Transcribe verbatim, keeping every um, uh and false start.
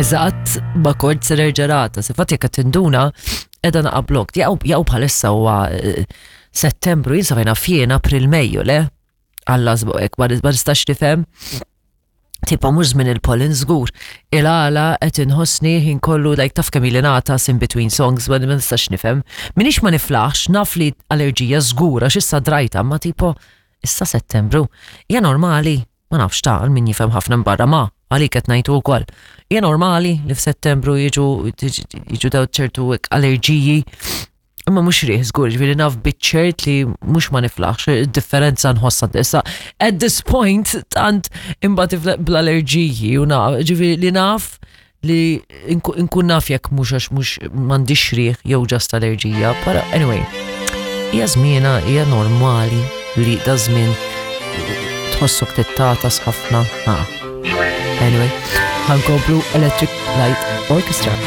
Eżatt, ma kont se nerġa' nagħtas. Infatti jekk qed tinduna qiegħda naqa' block. Jaqgħu bħalissa huwa eh, Settembru, jien sa fejn April, Mejju, le? Alla żbuqek, ma nistax nifhem. Tipo mhux żmien il-pollen żgur. Il-għala qed inħossni ħin kollu, like, taf kemm ili nagħtas in between songs, ma nistax nifhem. Minix ma niflaħx, naf li allerġija żgur għax issa drajta, ma tipo issa Settembru. Hija normali, ma nafx ta' min jifhem ħafna barra, ma għalik qed ngħidu wkoll. Hija normali li f'Settembru jiġu jiġu daw ċertu allerġiji? Imma mhux riħ żgur, ġifieri naf biċ-ċert li mhux ma niflaħx, id-differenza nħossha issa. At this point, tant imbagħad bl-allerġiji u naf, ġifieri li naf li nkun naf jekk mhux għax mhux m'għandix riħ jew just allerġija. Pero anyway, hija żmiena, hija normali li da żmien tħossok tittagħtas ħafna. Anyway, ħa nkomplu Electric Light Orchestra.